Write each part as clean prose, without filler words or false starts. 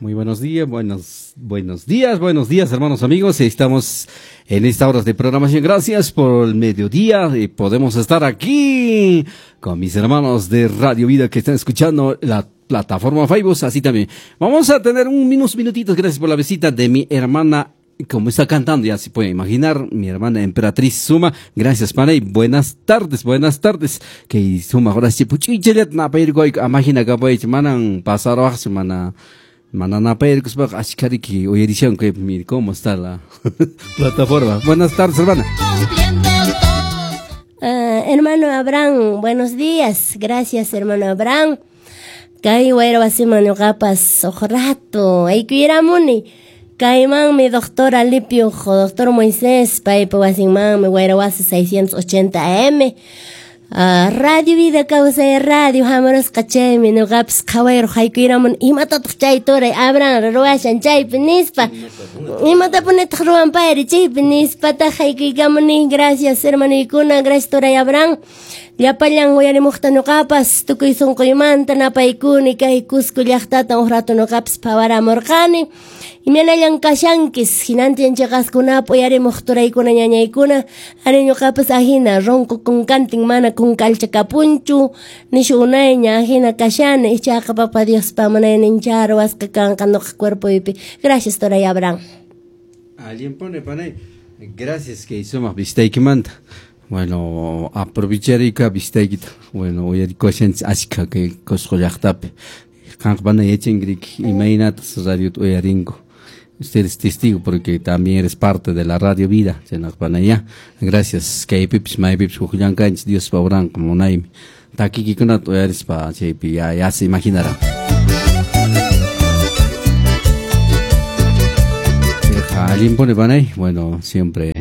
Muy buenos días, buenos días, buenos días, hermanos amigos. Estamos en esta hora de programación. Gracias por el mediodía y podemos estar aquí con mis hermanos de Radio Vida que están escuchando la plataforma Facebook, así también. Vamos a tener unos minutitos, gracias por la visita de mi hermana, como está cantando, ya se puede imaginar, mi hermana Emperatriz Suma. Gracias, pana, y buenas tardes, buenas tardes. Que Suma, ahora sí, puchichelet na pairgoy, amagina kapay, manan pasar mana manana pairgospaqa ashkariki uyarishan que mire cómo está la plataforma. Buenas tardes, hermana. Hermano Abraham, buenos días. Gracias, hermano Abraham. Kay wayra wasiman ñuqapas uq rato aykuyramuni. Kaymanmi doctor Alipio, doctor Moisés, paypa wasinmanmi wayra wasi 680 AM. Radio Vida Kawsay Radio hamurusqa chaymi ñuqapas qhawayruq haykuyramun imatataq chay turay Abraham ruwashan chaypi nispa. Imatapunitaq ruwan payri chaypi nispataq haykuykamuni. Gracias, hermanuykuna, gracias turay Abraham. Llapallan uyarimuqta ñuqapas tukuy sunquymanta napaykuni kay Cusco llaqtata uq rato ñuqapas phawaramurqani. Imaynallan kashankis hinantin chiqaskunapa uyarimuq turaykuna ñañaykuna ari ñuqapas ahina ronco kunkantin mana kunkalcha kapunchu nishu unayña ahina kashani ichaqa papa Diospa munaynincha ruwasqa kanqa ñuqa cuerpoypi. Gracias turay Abraham. Alguien pone panay. Gracias que sumaq vistaykimanta. Bueno, aprovecharika vistaykita. Bueno, uyarikuashanchis ashka kay Cusco llaqtapi. Qanqa pana yachankirik imaynatas radiota uyarinko. Usted es testigo porque también eres parte de la Radio Vida. Ya. Gracias. Kaypipis maypipis huk llamkanchis Diospa obranqa munaymi. Takikikunata uyarispa chaypi ya se imaginará. Allin pone panay. Bueno, siempre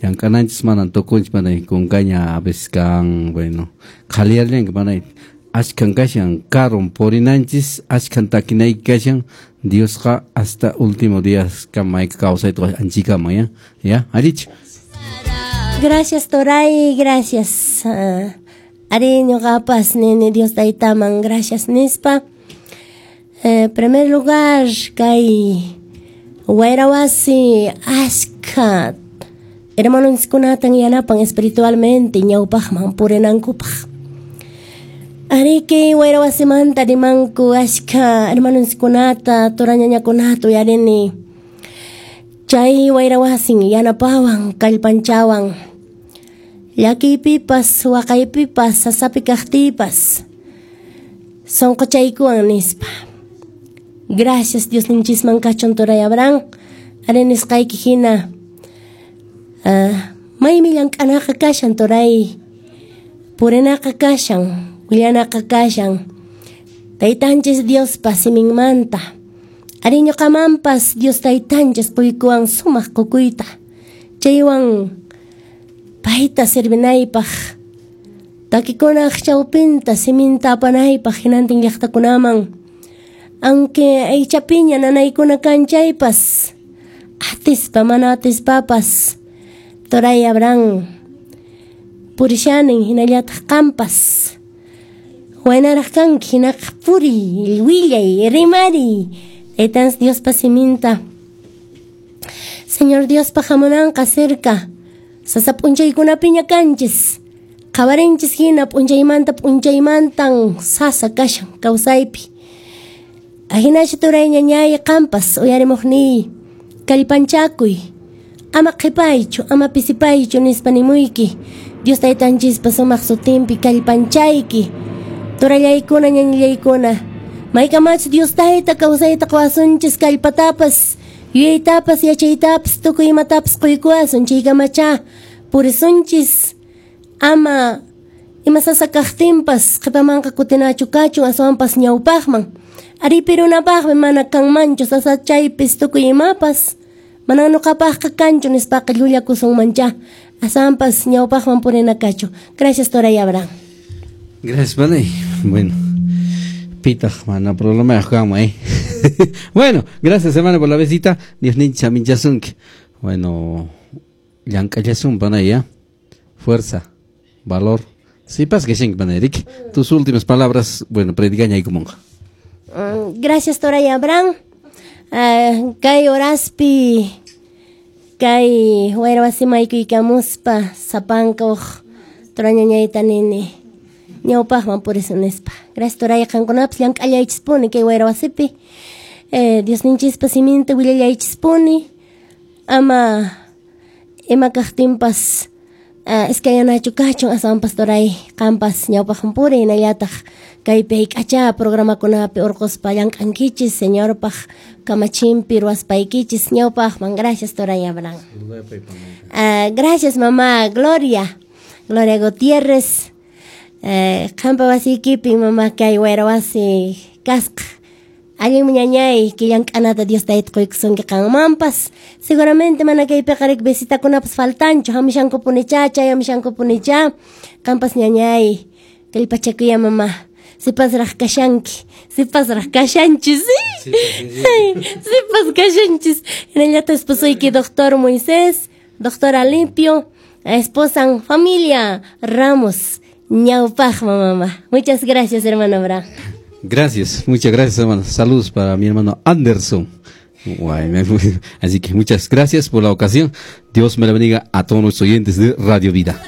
llamk'ananchis manan tukunchis panay kunkaña a veces kan, bueno, qhaliyarllanki panay. Ashkan kashan karun purinanchis, ashkan takinayki kashan, Diosqa hasta último día kama kawsayta anchikama, ya, ya, allichu. Gracias Toray, gracias. Ari ñuqapas nini Dios taytaman gracias nispa. Primer lugar kay wayra wasi ashka hermanonchiskunatan yanapan espiritualmente ñawpaqman purinankupaq. Ariki wayra wasimanta rimanku ashka hermanonchiskunata turañañakunata uyarini. Chay wayra wasin yanapawan kallpanchawan. Llakiypipas waqaypipas sasapi kaqtiypas sunquchaykuwan nispa. Gracias Dios ninchisman kachun turay Abraham. Ari nisqayki hina maymi llank'anaqa kashan turay, purinaqa kashan, willanaqa kashan taytanchis Diospa siminmanta. Ari ñuqamanpas Dios taytanchis quykuwan sumaq qukuyta chaywan payta servinaypaq takikunaq chawpinta siminta apanaypaq hinantin llaqtakunaman. Aunque aychapiña nanaykuna kan chaypas atispa mana atispapas turay Abraham purishanin hinallataq qampas waynaraq kanki hinaqa puriy willay rimariy taytanchis Diospa siminta. Señor Diospa hamunanqa cerca sasa p'unchaykunapiña kanchis qhawarinchis hina p'unchaymanta p'unchaymantan sasa kashan kawsaypi. Ahinachu turay ñañay qampas uyarimuqniy kallpanchakuy ama qhipaychu ama pisipaychu nispa nimuyki. Dios taytanchispa sumaq sutinpi kallpanchayki turallaykuna ñañallaykuna maykamachu Dios tayta kawsayta quwasunchis kallpatapas yuyaytapas yachaytapas tukuy imatapas quykuwasun chaykamacha purisunchis ama ima sasa kaqtinpas qhipamanqa kutinachu kachun aswanpas ñawpaqman. Ari pirunapaqmi mana kanmanchu sasa chaypis tukuy imapas mana ñuqapaqqa kanchu nispaqa llullakusunmancha aswanpas ñawpaqman purina kachu. Gracias turay Abraham. Gracias panay. Bueno, pitaq mana problema kanman, eh. Bueno, gracias hermano por la visita. Dios nincha minchasunki. Bueno, llank'allasun panay, ya. Fuerza, valor. Sí, pas que shinki panay, Rick. Tus últimas palabras, bueno, predicaña y como. Gracias, Toray Abraham. Kay horaspi kay wayra wasiman aykuykamuspa sapanka uq turañañayta nini ñawpaqman purisun nispa. Gracias turay, qankunapas llank'allaychispuni kay wayra wasipi. Diosninchispa siminta willallaychispuni, ama ima kaqtinpas iskayanachu kachun, aswanpas turay qanpas ñawpaqman puriy, hinallataq kaypi hayk'acha programakunapi urquspa llank'ankichis, Señorpaq kamachinpi ruwaspaykichis ñawpaqman. Gracias turay Abraham. Gracias mamá Gloria, Gloria Gutiérrez. Qampa wasiykipi mamá kay wayra wasi kasqa. Allin ñañay, que llank'anata Dios tayta quykusunki qanmanpas. Seguramente mana kaypiqa riki visitakunapas faltanchu, hamushankupunicha, chayamushankupunicha. Qampas ñañay, kallpachakuya mamá. Sipasraq kashanki, sipasraq kashanchis. Sipas kashanchis. Hinallataq esposoyki doctor Moisés, doctor Alimpio, esposan familia Ramos, ñawpaqman mamá. Muchas gracias, hermano Abraham. Gracias, muchas gracias, hermano. Saludos para mi hermano Anderson. Así que muchas gracias por la ocasión. Dios me la bendiga a todos los oyentes de Radio Vida.